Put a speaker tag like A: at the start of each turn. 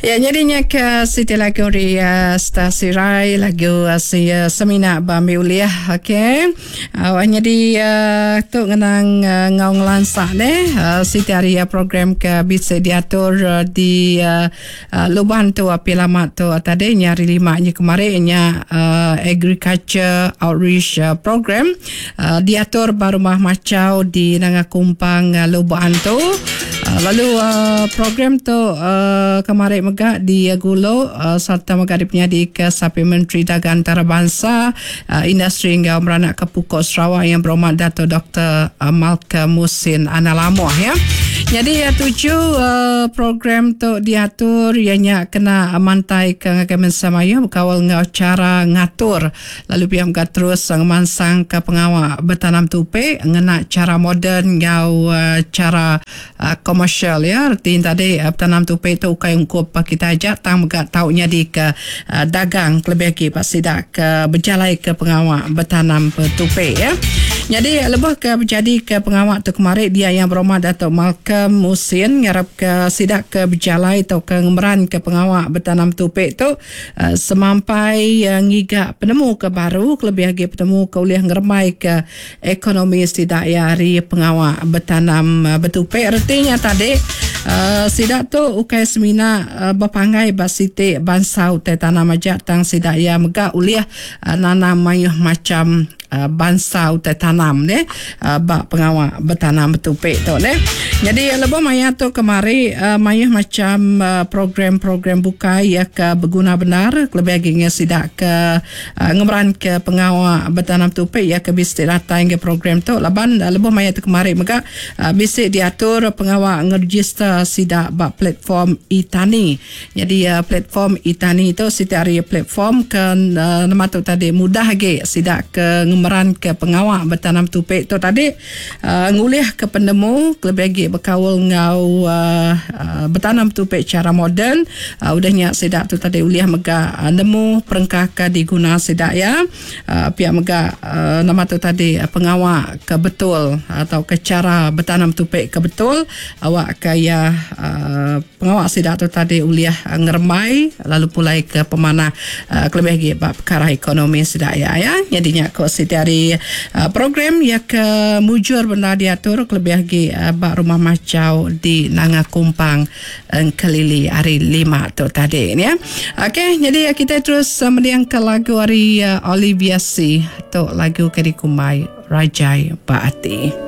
A: Ya nyadi nya ke siti lagu ari uh, Star Sirai lagu uh, si uh, semina ba ambi ulih okey. Uh, nyadi uh, tu ngenang uh, ngau ngelansa ne uh, siti ari uh, program ke bisi diatur uh, di uh, uh, Luban tu api lama tu uh, tadi nya hari lima nya kemari nya uh, agriculture outreach uh, program uh, diatur ba rumah Machau di Nanga Kumpang uh, Lubok Antu. Uh, lalu uh, program tu uh, kemari mega di Gulu uh, serta mega dipenyadi ke Sapi Menteri Dagang Antarabangsa uh, Industri enggau Meranak ke Pukuk Sarawak yang berhormat Dato Dr. Malcolm Musin Analamoh ya. Jadi uh, tuju uh, program tu diatur ianya kena mantai ke ngagai mensia mayuh bekaul enggau cara ngatur Lalu pia mega terus ngemansangka pengawa betanam tupi ngena chara moden enggau chara komersial iya. Reti nya tadi betanam tupi tu ukai ungkup kitai aja tang mega tau nyadika dagang kelebih agi ba sida ke bejalaika pengawa betanam tupi iya. Nyadi lebuh ke bejadika pengawa tu kemari dia Yang Berhormat Datuk Malcolm Mussen ngarapka sida ke bejalai tauka ngemeranka pengawa betanam tupi tu Semampai ngiga penemu ke baru kelebih agi penemu ke ulih ngerembaika ekonomi sida iya ari pengawa betanam betupi. Reti nya tadi sida tu ukai semina bepanggai ba siti bansa utai tanam aja tang sida iya mega ulih nanam mayuh macham bansa utai tanam deh ba pengawa betanam betupi tu deh. Nyadi lebuh maya tu kemari mayuh macham program-program bukai iya ke beguna bendar kelebih agi ngan sida ke ngemeranka pengawa betanam betupi iya ke bisi datai ngagai program tu laban lebuh maya tu kemari mega bisi diatur pengawa ngerejister sida ba platform e-tani. Nyadi platform e-tani tu siti ari platform ke nama tu tadi mudah agi sida ke ngemeranka pengawa betanam tupi tu tadi ngulihka penemu kelebih agi bekaul enggau betanam tupi chara moden udah nya sida tu tadi ulih mega nemu perengka ke diguna sida iya. Pia mega nama tu tadi pengawa ke betul tauka chara betanam tupi ke betul awakka iya pengawa sida tu tadi ulih ngerembai lalu pulai ke pemanah kelebih agi ba pekara ekonomi sida iya ya. Nyadi nya ko siti ari program iya ke mujur bendar diatur kelebih agi ba Rumah Machau di Nanga Kumpang. Engkelili hari lima tu tadi ya. Okey, jadi kita terus mendingka lagu ari Olivia C. Tu lagu ke dikumbai Rajai Ba Ati.